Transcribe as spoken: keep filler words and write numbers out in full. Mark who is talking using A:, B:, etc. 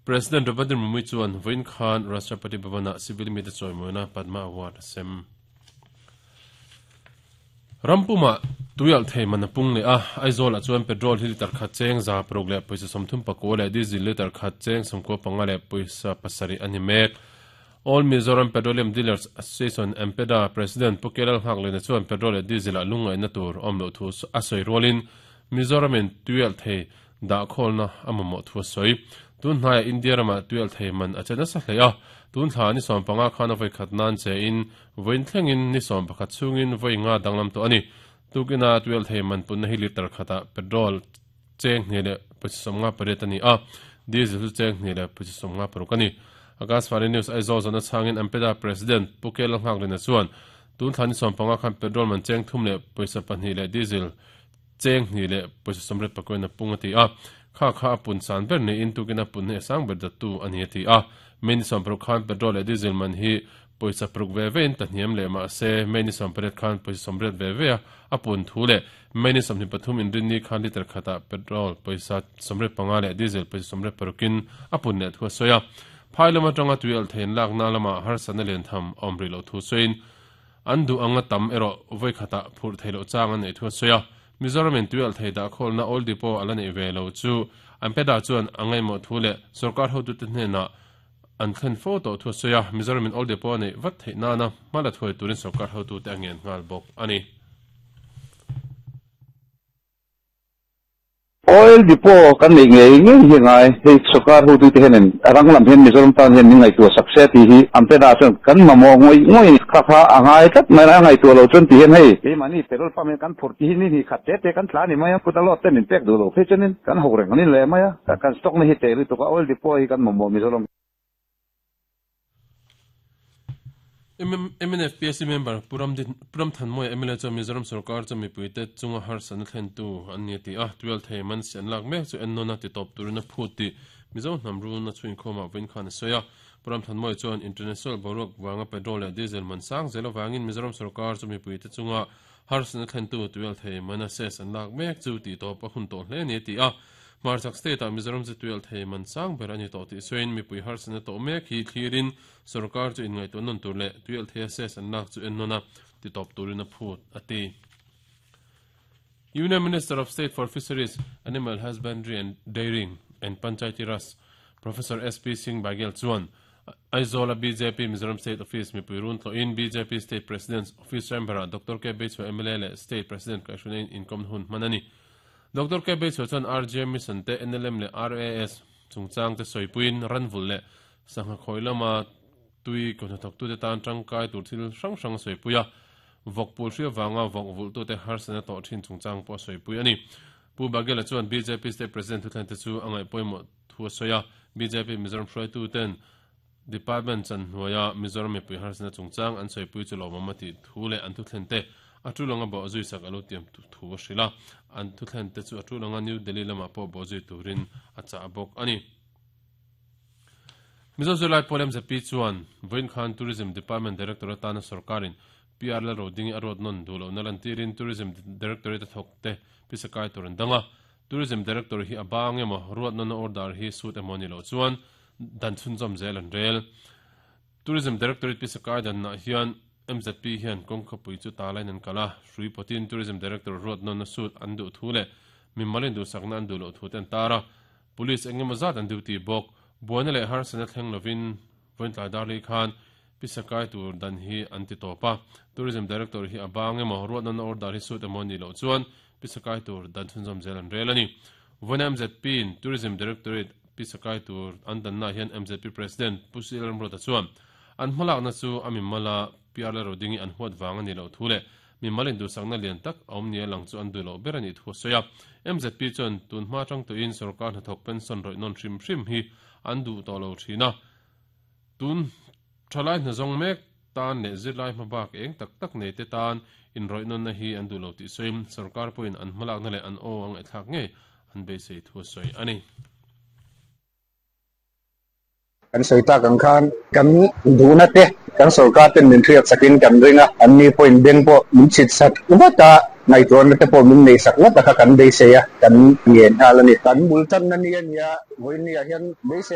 A: President Draupadi Murmu chuan vawiin khan Rashtrapati Bhavan-ah civil mite chawimawina Padma Award a sem. Rampuma tuialh thei man a pung leh a, Aizawl-ah chuan petrol hi litre khat cheng za paruk leh pawisa sawmthum pakua leh diesel litre khat cheng sawmkua panga leh pawisa pasarih a ni mek. All Mizoram Petroleum Dealers Association, AMPEDA, President Pu Kelal Nghaklena chuan petrol leh diesel-ah lungngaihna tur awm loh thu a sawi rualin Mizoramin tuialh thei dahkhawlna a mamawh thu a sawi. Tun hnaiah India ramah tuialh thei man a che nasa hle a, tun thla ni sawm panga khan a vawi khat nan chein vawiin thlengin ni sawm pakhat chhungin vawi nga danglam tawh a ni. Tukina tuialh thei man punna hi litre khatah petrol cheng hnih leh pawisa sawmnga pariat a ni a, diesel chu cheng hnih leh pawisa sawmnga paruk a ni. Akashvani News Aizawl zawhna chhangin AMPEDA President Pu Kelal Nghaklena chuan tun thla ni sawm panga khan petrol man cheng thum leh pawisa pahnih leh diesel cheng hnih leh pawisa sawmriat pakuain a pung a ti a, kha kha a pun san ber niin tukin a pun hne sang ber dattu a ni a ti a. May ni sawm paruk khan petrol leh diesel man hi pawisa paruk ve vein tahniam leh mah se May ni sawm pariat khan pawisa sawmriat ve ve a a pun thu leh May ni sawmhnih pathum inrinni khan litre khatah petrol pawisa sawmriat panga leh diesel pawisa sawmriat parukin a pun leh thu a sawi a. Phai lam atanga tui alh thein lakna lamah harsatna lian tham a awm rih loh thu sawiin an duh anga tam erawh vawi khatah phurh theih loh chang an neih thu a sawi a. Mizoramin tui alh thei dahkhawlna Oil Depot a la neih ve lo chu AMPEDA chuan a ngaihmawh thu leh sorkar hotute hnenah an thlen fo tawh thu a sawi a. Mizoramin Oil Depot a neih vat theih nana hma la thuai turin sorkar hotute a ngen nghal bawk a ni.
B: Oil Depot kan neih ngei ngei hi ngai. Hei sorkar hotute hianin a rang lam hian Mizoram tan hian min ngaihtuah sak se tih hi AMPEDA chuan kan mamawh ngawih ngawih a ni. Kha kha a ngai tlat mai a ngaihtuah loh chuan ti hian hei keimahni petrol pump hian kan phurh tih hi ni hnih khat te te kan tla a ni mai a, kut a load te min pek duh loh phei chuanin kan ho reng a ni leh mai a, kan stock na hi teh lutuk a, Oil Depot hi kan mamawh Mizoram.
A: M N F P S C member Pu Ramthanmawia M L A chuan Mizoram sorkar chu mipuite chunga harsatna thlentu an ni a ti a, twelve thei man si an lak mek chu ennawn a titawp turin a phut tih Mizo hnam runa chhuinkhawmah vawiin khan a sawi a. Pu Ramthanmawia chuan international boruak vanga petrol leh diesel man sang zel avangin Mizoram sorkar chu mipuite chunga harsatna thlentu twelve thei man a cess an lak mek chu tihtawp a hun tawh hle a ni a ti a. Hmarchhak state-ah Mizoram chu tuialh thei man sang ber a ni tawh tih sawiin mipui harsatna tawh mek hi thlirin sorkar chu inngaihtuah nawn tur leh tuialh thei a cess an lak chu ennawn a titawp turin a phut a ti. Union Minister of State for Fisheries, Animal Husbandry and Dairying and Panchayati Raj Professor S P Singh Baghel chuan Aizawl-a B J P Mizoram State Office mipui run tlawhin B J P State President's Office Chamber-ah Doctor K Beichhua M L A leh State President kaihhruina inkawmna hun hman a ni. Doctor K Beichhua chuan R G M Mission te N L M leh R A S chungchang te sawipuiin ranvulh leh sangha khawi lama tui kawhnathawktute tan tangkai tur thil hrang hrang a sawipui a, vawk pul hria vanga vawk vulhtute harsatna tawh thin chungchang pawh a sawipui a ni. Pu Baghel-a chuan B J P State President thuthleng te chu a ngaihpawimawh thu a sawi a, B J P Mizoram hruaituten Department chan hnuaia Mizoram mipui harsatna chungchang an sawipui chu lawmawm a tih thu leh an thuthleng te a tulanga bawh zui sak a lo tiam thu a hrilh a, an thuthleng te chu a tulanga New Delhi lamah pawh bawh zui turin a chah bawk a ni. Mizo Zirlai Pawl M Z P chuan vawiin khan Tourism Department Director atana sorkarin P R Lalrodingi a ruat nawn duh lohna lantirin Tourism Directorate a thawk te pisakai tur an dang a, Tourism Director hi a bang emaw ruat nawna order hi sut emaw ni loh chuan dan chhunzawm zel an rel. Tourism Directorate pisakai danah hian M Z P hian kawngkhapui chu talain an kal a, hrui pawtin Tourism Director ruat nawna sut an duh thu leh mimalin duhsakna an duh loh thu te an tar a, police engemaw zat an duty bawk. Buaina leh harsatna thleng lovin vawiin tlai darli khan pisakai tur dan hi an ti tawp a, Tourism Director hi a bang emaw ruat nawna order hi sut emaw ni loh chuan pisakai tur dan chhunzawm zel an rel a ni. Vawiin M Z P in Tourism Directorate pisakai tur an danna hian M Z P President Pu C L Ramruata chuan an hmalakna chu a mimala P R Lalrodingi an huat vang a ni loh thu leh mimalin duhsakna lian tak a awm nia lang chu an duh loh ber a nih thu a sawi a. M Z P chuan tun hma tang tuin sorkar hnathawk pension rawih nawn hrim hrim hi an duh tawh lo thin a, tun thalai hnazawng mek tan leh zirlai hmabak eng tak tak nei te tan inrawih nawnna hi an duh lo tih sawiin sorkar pawhin an hmalakna leh an aw ang ngaihthlak ngei an beisei thu a sawi a ni.
B: Kan sawi tak ang khan kan duhna te kan sorkar ten min hriat sakin kan ring a, an ni pawhin beng pawh min chhit sak vat a, ngaihtuahna te pawh min nei sak vat a kha kan beisei a, kan ngen nghal a ni. Kan bul tanna ni a nia, vawiin ni ah hian beisei